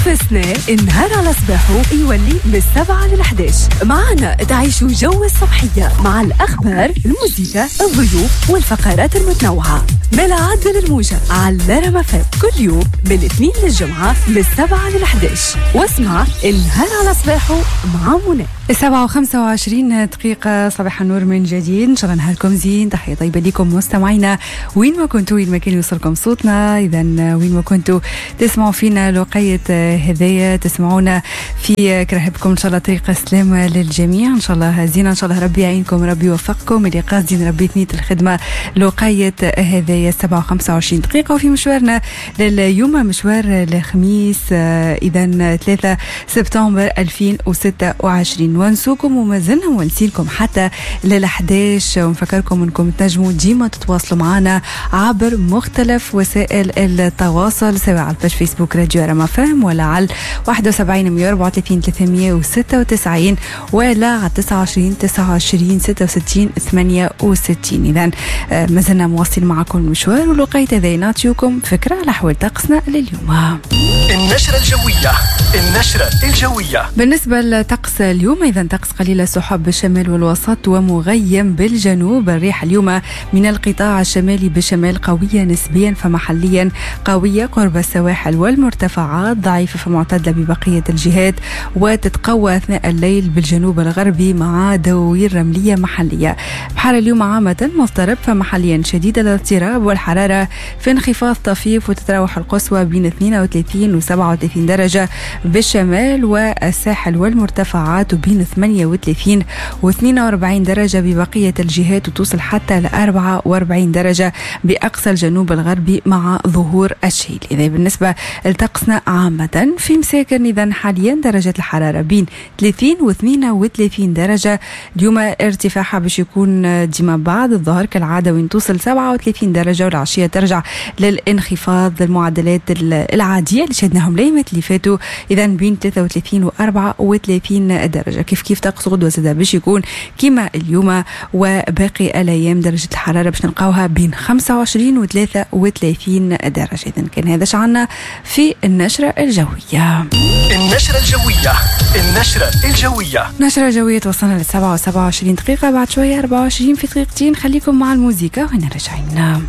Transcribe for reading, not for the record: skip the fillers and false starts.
السنة النهار على صباحه يولي من 7 لل11. معنا تعيشوا جو الصبحية مع الأخبار، الموسيقى، الضيوف والفقرات المتنوعة. ملا عدل الموجة على رما كل يوم من الاثنين للجمعة من 7 لل11، واسمع النهار على صباحه مع منى. 7:25، صباح النور من جديد، إن شاء الله نهاركم زين. تحية طيبة لكم مستمعينا وين ما كنتوا، وين ما كان يوصلكم صوتنا. إذا وين ما كنتوا تسمعوا فينا لقية هذايا، تسمعونا في كرهبكم، إن شاء الله طريق السلامة للجميع، إن شاء الله زينة، إن شاء الله ربي يعينكم، ربي يوفقكم. اللي قاصدين ربي ثنية الخدمة لقية هذايا 7:25. وفي مشوارنا لليوم، مشوار الخميس إذا 3 سبتمبر 2026، ونسوكم وما زلنا ونسيلكم حتى لل11. ونفكركم انكم تنجموا ديما تتواصلوا معنا عبر مختلف وسائل التواصل، سواء على ال page فيسبوك راديو رما فهم، ولا على 71 134 396، ولا على 29 29 66 68. اذا ما زلنا مواصلين معكم المشوار، ولقيت ذي نعطيكم فكرة على أحوال طقسنا لليوم. النشرة الجوية، النشرة الجوية. بالنسبة لطقس اليوم، إذا طقس قليل السحب بالشمال والوسط ومغيم بالجنوب. الريح اليوم من القطاع الشمالي بالشمال قوية نسبيا، فمحليا قوية قرب السواحل والمرتفعات، ضعيفة فمعتدلة ببقية الجهات، وتتقوى أثناء الليل بالجنوب الغربي مع دواوير رملية محلية. بحر اليوم عامة مضطرب، فمحليا شديد الاضطراب، والحرارة في انخفاض طفيف، وتتراوح القصوى بين 32 و 37 درجة بالشمال والساحل والمرتفعات، وبين 38 و 42 درجة ببقية الجهات، وتوصل حتى ل 44 درجة بأقصى الجنوب الغربي مع ظهور الشيل. إذا بالنسبة لطقسنا عامة في مساكن، إذا حاليا درجة الحرارة بين 30 و 32 درجة. اليوم ارتفاعها باش يكون ديما بعد الظهر كالعادة، وين توصل 37 درجة، والعشية ترجع للانخفاض للمعدلات العادية اللي شهدناهم الأيامات اللي فاتوا، إذا بين 33 و 34 درجة. كيف كيف طقس غدوة زاد باش يكون كما اليوم، وباقي الأيام درجة الحرارة باش نلقاوها بين 25 و 33 درجة. إذا كان هذا شعنا في النشرة الجوية. النشرة الجوية، النشرة الجوية. نشرة جوية توصلنا 7:27، بعد شوية 24 في دقيقتين. خليكم مع الموزيكا وهنا راجعين.